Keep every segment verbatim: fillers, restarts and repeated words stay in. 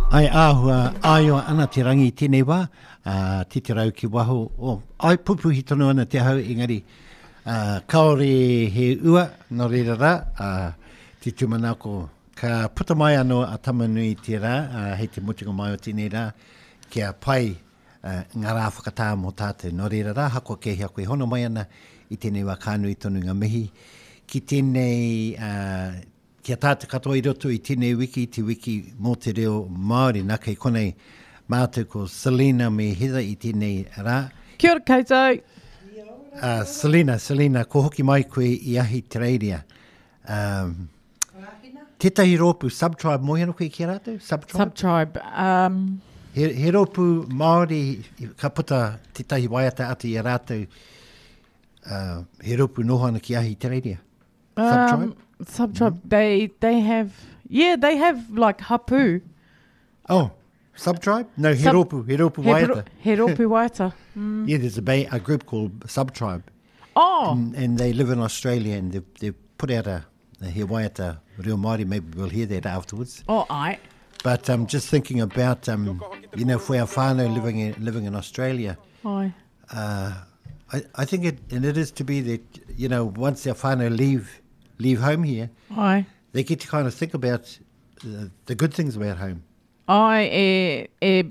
Ai āhua āio ana te rangi i tēnei wā, uh, titerau ki waho, oh, ai pupuhi tonu ana te hau, engari uh, kāore he ua, nō reira rā, uh, te tūmanako, ka puta mai anō a Tamanui te rā, uh, hei te mutunga mai o tēnei rā, kia pai uh, ngā rā whakatā mō tātou. Nō reira rā, hako kei hea koe hono mai ana i tēnei wā ka nui tonu ngā mihi ki tēnei uh, kia tātou katoa i roto i tēnei wiki, te wiki mō te reo Māori. Nā kei konei mātou ko Selena me Heather i tēnei rā. Kia ora koutou. Uh, Selena, Selena, ko hoki mai koe i Ahitereiria. Um, tētahi rōpū, Subtribe, mōhio ana koe ki a rātou? Subtribe? Subtribe. Um, He, he rōpū Māori ka puta tētahi waiata atu i a rātou. Uh, he rōpū noho ana ki Ahitereiria. Subtribe? Um, subtribe. Mm. They they have yeah they have like hapu. Oh, Subtribe? No, he Sub- rōpū, he rōpū He, waiata. he rōpū waiata. Mm. Yeah, there's a, ba- a group called Subtribe. Oh, And, and they live in Australia and they've, they've put out a, a he waiata reo Māori. Maybe we'll hear that afterwards. oh, I. But um, just thinking about, um, you know, for our whānau living in, living in Australia, Ai. uh, I, I think it, and it is to be that, you know, once our whānau leave, leave home here, Ai. they get to kind of think about the, the good things about home. Ai, e, e,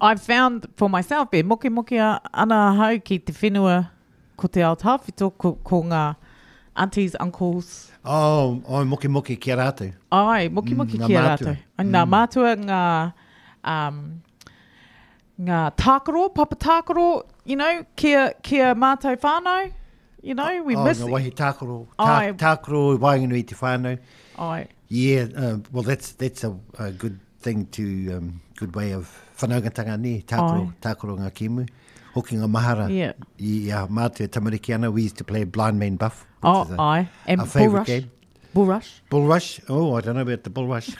I found for myself, e moke moke ana ahau ki te whenua ko te ao tawhito, ko, ko ngā aunties, uncles. Oh, oh moke moke ki a rātou. Ai, moke moke Mm, ngā ki a mātua. rātou. Ai, Ngā mātua, ngā, um, ngā tākaro, papa tākaro, you know, kia, kia mātou whānau, you know, we oh, miss ngā wahi tākaro, tā, Ai. tākaro i waenganui i te whānau. Ai, Yeah, uh, well, that's that's a, a good thing to, um, good way of whanaungatanga ne, tākaro, Ai. tākaro ngā kēmu. Hoki ngā mahara. Yeah. I a mātua tamariki ana, we used to play Blind Man Buff, which oh, is a, ai. And a favourite bull rush. game. Bull rush. Bull Rush. Oh, I don't know about the Bull Rush.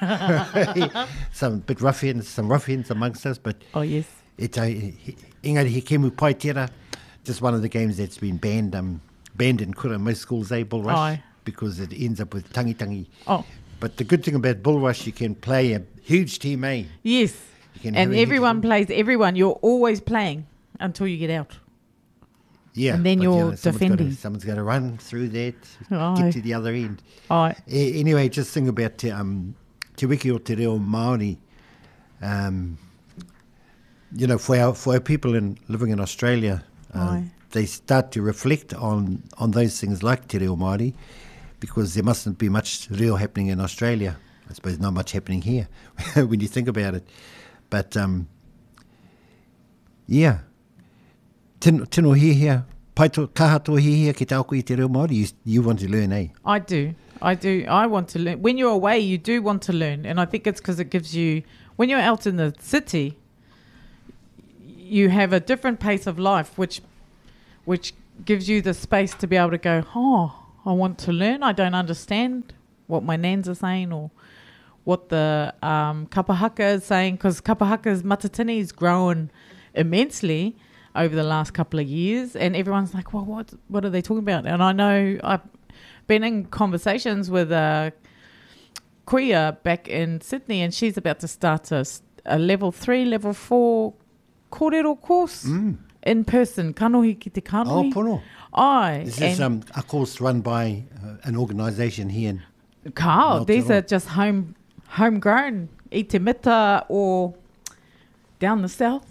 Some bit ruffians, some ruffians amongst us, but Oh, yes. it's a, he- engari he kēmu pai tērā. Just one of the games that's been banned, um, banned in kura most schools, eh, Bull Rush, Aye. because it ends up with tangi tangi. Oh, But the good thing about Bull Rush, you can play a huge team, eh? yes. You can have And a huge everyone team. plays everyone. You're always playing until you get out. Yeah, and then but, you you're know, someone's gotta- defending. someone's got to run through that, Aye. get to the other end. Ai. A- anyway, just think about te, um, te wiki o te reo Māori. Um, you know, for our, for our people in, living in Australia, uh, Aye. they start to reflect on, on those things like te reo Māori, because there mustn't be much reo happening in Australia. I suppose not much happening here when you think about it. But, um, yeah. Tino, tino hihia, pai tō, kaha tō hihia ki te ako i te reo Māori, you, you want to learn, eh? I do. I do. I want to learn. When you're away, you do want to learn. And I think it's because it gives you, when you're out in the city, you have a different pace of life, which, which gives you the space to be able to go, oh, I want to learn. I don't understand what my nans are saying or what the um, kapahaka is saying, because kapahaka's matatini is grown immensely over the last couple of years, and everyone's like, well, what, what are they talking about? And I know I've been in conversations with a kuia back in Sydney, and she's about to start a, s- a level three, level four kōrero course in person. Kanohi ki te Mm. Oh, kanohi. pono. Ai. This is and um, a course run by uh, an organisation here in Kao, these Aotearoa. are just home homegrown. I te mita or down the south.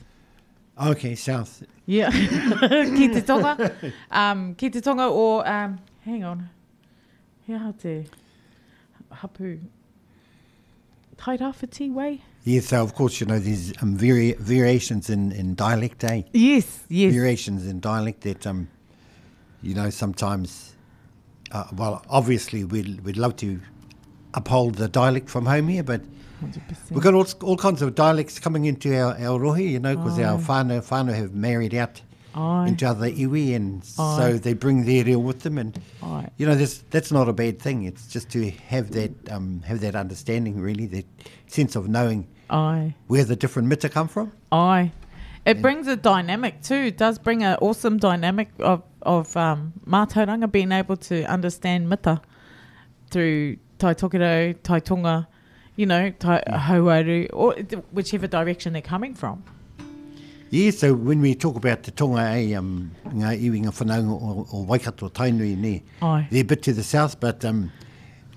Okay, south. Yeah. Ki te tonga. Um, ki te tonga or, um, hang on. He aha te hapu. Tairawhiti way? Yeah, so of course, you know, there's um, vari- variations in, in dialect, eh? Yes, yes. Variations in dialect that, um, you know, sometimes, uh, well, obviously we'd, we'd love to uphold the dialect from home here, but one hundred percent. we've got all, all kinds of dialects coming into our, our rohe, you know, because our Aye. whānau, whānau have married out Aye. into other iwi, and so Aye. they bring their reo with them, and Aye. you know, this, that's not a bad thing. It's just to have that um, have that understanding, really, that sense of knowing Aye. where the different mita come from. Aye. It brings a dynamic too. It does bring an awesome dynamic of, of um, mātauranga, being able to understand mita through Tai Tokerau, Tai Tonga, you know, tai, hauaru, or whichever direction they're coming from. Yeah, so when we talk about te tonga, eh, um, ngā iwi ngā whanaunga o, o Waikato Tainui, ne, Ai. they're a bit to the south, but um,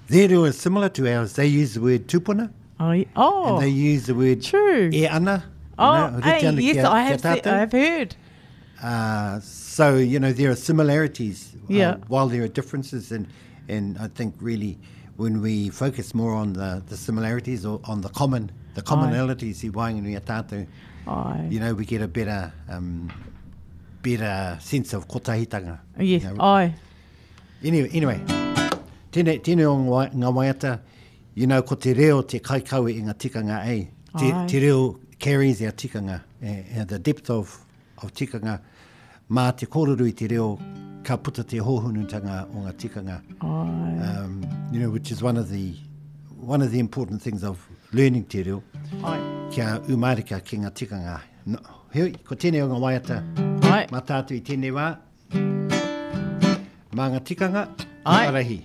their reo is similar to ours. They use the word tupuna, Ai. Oh, and they use the word true. e ana. you Oh, know, rite hey, ana yes, kia- I kia have, se- tātou. I have heard. Uh, so, you know, there are similarities uh, Yeah. while there are differences. And, and I think really when we focus more on the, the similarities or on the common, the commonalities i waenganui a tātou, Ai. you know, we get a better, um, better sense of kotahitanga. Yes, You know. ai. Anyway, anyway tēnei, tēnei o ngā ngā waiata, you know, ko te reo te kaikawe i ngā tikanga e. Te, Ai. te reo carries our tikanga, eh, eh, the depth of, of tikanga. Mā te kōrero i te reo, ka puta te hōhunutanga o ngā tikanga. Ai. Um, you know, which is one of the, one of the important things of learning te reo, Ai. kia umarika ki ngā tikanga. No, heoi, ko tēnei o ngā waiata, Ai. mā tātou i tēnei wā, mā ngā tikanga, Ai. arahi.